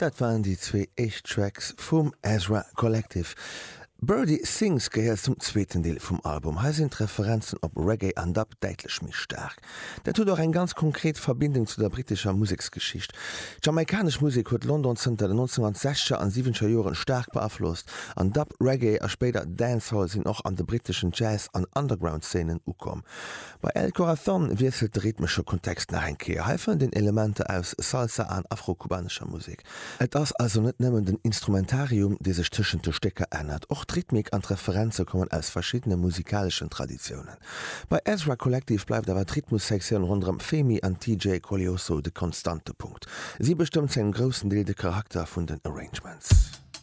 Dat waren déi zwee éischt Tracks vum Ezra Collective. Birdie Sings gehéiert zum zweeten Deel vum Album. Hei sinn d'Referenzen op Reggae an Dub däitlech méi staark. Dat huet och eng ganz konkret Verbindung zu der brittescher Museksgeschicht. D'jamaikanesch Musek huet London zënter den 1960er an siwwenzeger Joren staark beaflosst, an Dub, Reggae a spéider Dancehall sinn och an de britteschen Jazz an Underground-Szenen ukomm. Bei El Corazón wiesselt de rhythmesche Kontext nach eng Kéier. Hei fënnt een Elementer aus Salsa an afro-kubanescher Musek. Et ass also net nëmmen den Instrumentarium, dee sech tëschent de Stécker ännert, och d'Rhythmik an d'Referenze kommen aus verschiddene musikaleschen Traditiounen. Bei Ezra Collective bleift awer d'Rhythmussektioun ronderëm Femi an TJ Koleoso de konstante Punkt. Si bestëmmt zu engem groussen Deel de Charakter vun den Arrangements.